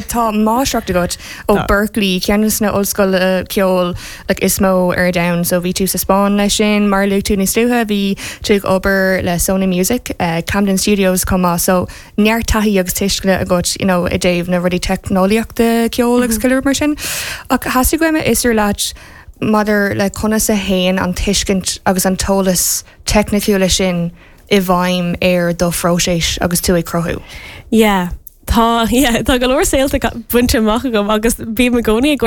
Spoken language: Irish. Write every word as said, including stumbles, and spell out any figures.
Tá máistreacht agat ó Berklee ceann de na ollscoileanna ceoil like, is mó ar domhan, so bhí tú sa Spáinn leis sin mar luaigh tú níos luaithe bhí tú ag obair le Sony Music, uh, Camden Studios chomh maith so neart taithí agus tuisceana agat you know, i dtaobh na rudaí teicneolaíochta ceol agus mm -hmm. mar sin. Ach theastaigh uaim a fhiosrú leat maidir le conas a théann an tuiscint agus an t-eolas teicniúil sin i bhfeidhm ar do phróiseas agus tú ag cruthú. Yeah. Tá yeah, tá go leor saolta bainte amach agam agus bím i gcónaí ag